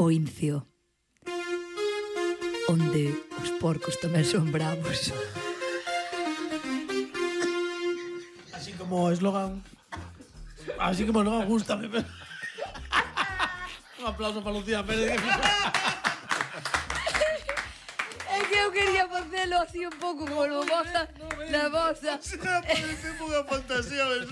o Incio, onde os porcos tamén son bravos. Así como eslogan. Así como eslogan, gústame. Un aplauso para Lucía Pérez. É que eu quería facelo así un pouco como vosa, na vosa. Parece unha fantasía, ¿ves?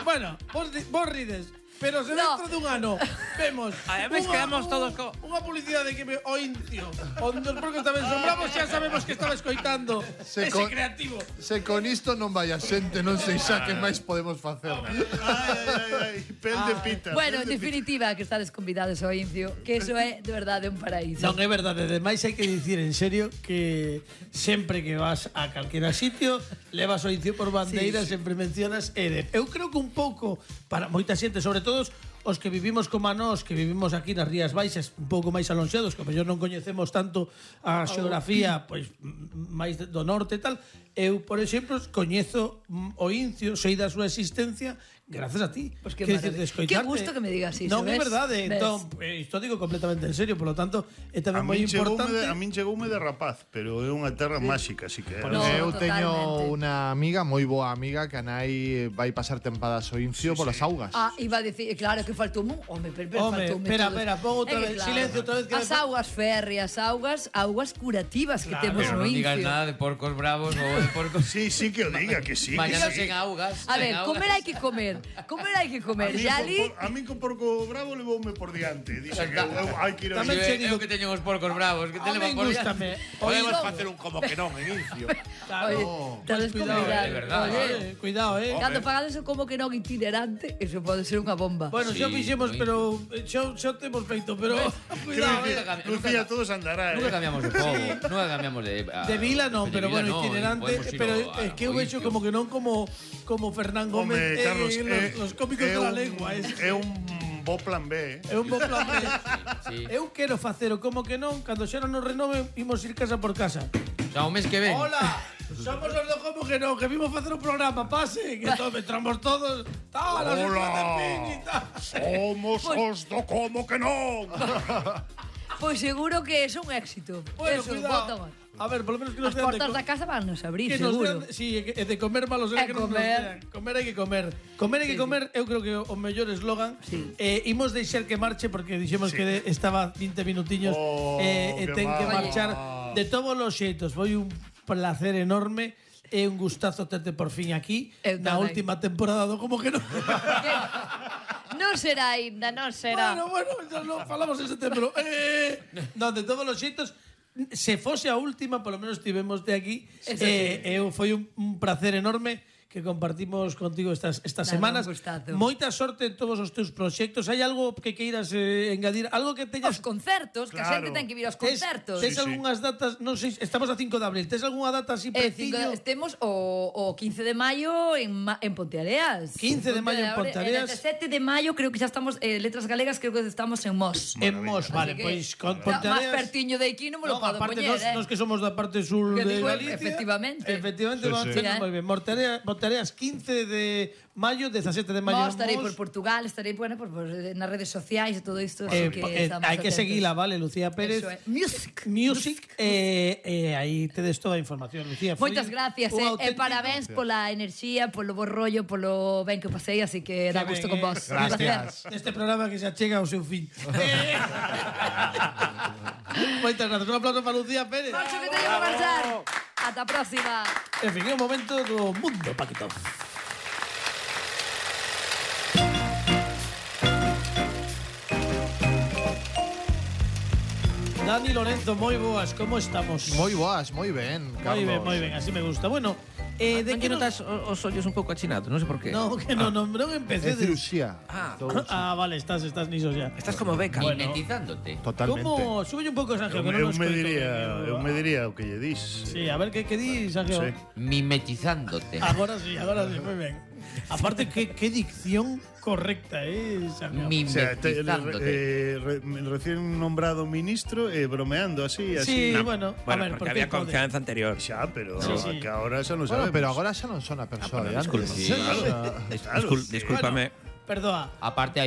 Bueno, vos rides. Pero se No. dentro dun ano vemos Además quedamos todos unha publicidade que me o Incio, onde os porcos tamén son bravos, xa sabemos que estaba escoitando ese creativo. Se con isto non vai a xente, non sei xa que máis podemos facer. Ay, pel de pita. Bueno, en definitiva, que estades convidados ao Incio, que eso é de verdade un paraíso. Non é verdade, ademais hai que dicir en serio que sempre que vas a calquera sitio levas o Incio por bandeira, sempre mencionas Eder. Eu creo que un pouco para moita xente, sobre todo os que vivimos como a nós, que vivimos aquí nas Rías Baixas, un pouco máis alonxados, que mellor non coñecemos tanto a xeografía, pois máis do norte e tal. Eu, por exemplo, coñezo o Incio, sei da súa existencia grazas a ti. Pois que Quer maravilla. dicir, de Que gusto que me digas iso, Non é ves? verdade, Ves? entón, isto digo completamente en serio, polo tanto, é A tamén moi min importante. a min chegoume de rapaz, pero é unha terra máxica, así que No, Eu teño totalmente. unha amiga, moi boa amiga, que a nai vai pasar tempadas ao Incio polas augas. Ah, iba a decir, claro que faltou un home, pero Home, faltou espera, pon outra vez, silencio outra vez que As augas férreas, augas curativas que temos Pero no non digas Incio. nada de porcos bravos ou de porcos. Sí, sí que o diga, que sí. Mañana que sí. sen augas. A ver, sen augas. comer hai que comer. Comer hai que comer. Ya ali A mí con porco bravo levoume por diante. Dixe que hai que ir a Tamén Eu, che eu digo- que teño os porcos bravos, que te A levan min por gústame. Podemos Oído. facer un como que non en Incio. Oye, estades cuidado, convidados. de verdad. Oye, Cuidado, cando pagades o como que non itinerante, eso pode ser unha bomba. Bueno, xa Sí, fixemos, moi pero xa temos feito, pero cuidado, Lucía, todos andará, Nunca cambiamos de povo, nunca cambiamos De vila non, de pero vila bueno, non, itinerante, podemos ir pero ao- es que eu ao vexo Incio. como que non como Fernán Home, Gómez Carlos, los cómicos de la lengua, é un bo plan B, É un bo plan B. Sí. Eu quero facer o como que non, cando xa non nos renoven, imos ir casa por casa. O sea, o mes que ven. Hola, somos os do como que non, que vimos facer un programa, pase, que entramos todos, tal, así Hola. de fin e tal. Somos os do como que non. Pois seguro que é un éxito. Bueno, Eso, cuidado. bota, A ver, por lo menos que nos As dean de portas da casa van nos abrir, que nos seguro. dean, sí, e de comer malo será E que non nos comer. dean. Comer hai que comer. Comer hai que comer, eu creo que o mellor eslogan. Sí. Imos deixar que marche porque dixemos que estaba 20 minutiños Oh, e que ten que mal. marchar de todos os xeitos. Foi un placer enorme. É un gustazo terte por fin aquí Eu na tamén. última temporada do Como que non. Non será aínda, non será. Bueno, ya lo falamos en setembro. Non, de todos os xeitos, se fose a última, polo menos tivemos de aquí. Eso sí. Foi un placer enorme que compartimos contigo estas Nada, semanas. un gustazo. Moita sorte en todos os teus proxectos. Hai algo que queiras engadir? Algo que Os teñas... concertos, que a Claro. xente ten que vir aos Tes concertos. Sí, sí. algunhas datas, non sei, estamos a 5 de abril. Tes algunha data así preciño? Temos o 15 de maio en Ponteareas. 15 de maio en Ponteareas. El 17 de maio creo que xa estamos, Letras Galegas, creo que estamos en Mos. En Mos, vale, Así que, pois con Más Ponteareas... pertiño de aquí non me lo No, podo aparte poñer, nos que somos da parte sur Que de digo, Galicia. efectivamente. Efectivamente, Sí, vamos sí. a moi ben. Montareas 15 de maio, 17 de maio. Mos, estarei en por Mos. Portugal, estarei por nas redes sociais e todo isto, así que estamos hai que atentos. seguila, vale, Lucía Pérez. Eso é. Music. Music, aí tedes toda a información, Lucía. Foi Moitas gracias, un e auténtico- parabéns pola enerxía, polo bo rollo, polo ben que o pasei, así que dá Que gusto ben, con vos. Un Gracias. placer. Neste programa que xa chega ao seu fin. Moitas gracias. Un aplauso para Lucía Pérez. Marcho que teño que marchar. Ata a próxima. En fin, é o momento do mundo Paquito. Dani Lorenzo, moi boas, como estamos? Moi boas, moi ben, Carlos. Moi ben, así me gusta. Bueno, de Non que que nos... notas os ollos un pouco achinados, non sei por qué. No, que non É empecé. cirurxía. Ah, vale, estás niso ya. Estás como beca. Bueno. Mimetizándote. Totalmente. Como? Súbelle un pouco, Sergio, que non Eu nos me escoito. diría o que lle dis. Sí, a ver que di, Sergio. Sí. Mimetizándote. Agora sí, moi ben. Aparte, que dicción correcta, Sergio. O sea, Mimetizándote. recién nombrado ministro bromeando así, Sí, así. bueno, a ver, porque había pode. confianza anterior. Xa, pero Sí. que ahora xa non Bueno, sabemos. pero agora xa non son a persoa de antes. Disculpa. Sí, Claro. Discúlpame. Perdoa. Aparte